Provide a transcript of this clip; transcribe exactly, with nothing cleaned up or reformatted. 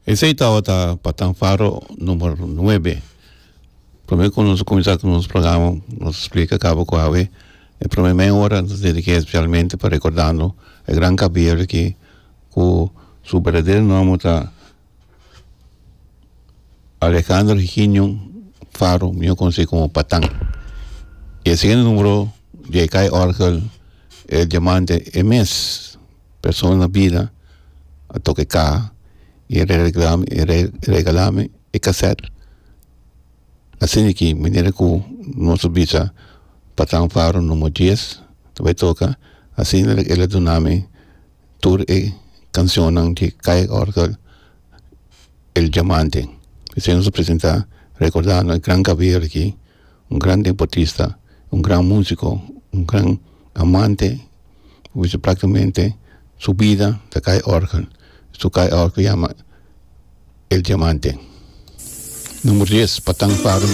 Esei tabata Patan Faro number nuebe. Promé ku nos kuminsá ku nos programa, nos splika kaba ku awe e promé mei ora nos dedik'é spesialmente pa rekordando e gran kabier aki ku su berdadero nòmber ta Alejandro Higinio Faro, mihó konosí komo Patan. I e siguiente número di e kai òrgel El Diamante, e mes persona na bida a toka e kaha i e regalá mi e kasèt. Asina ki manera ku nos a bisa Patan Faro numero dies ta bai toka, asina el a duna mi tur e kanshonnan di kai òrgel El Diamante. Esei nos a presentá rekordando e gran kabier aki, un gran deportista, un gran músiko, un gran amante, ku bisa práktikamente su bida ta kai òrgel. Su kai òrgel yama El Diamante. Numero dies, Patan Faro.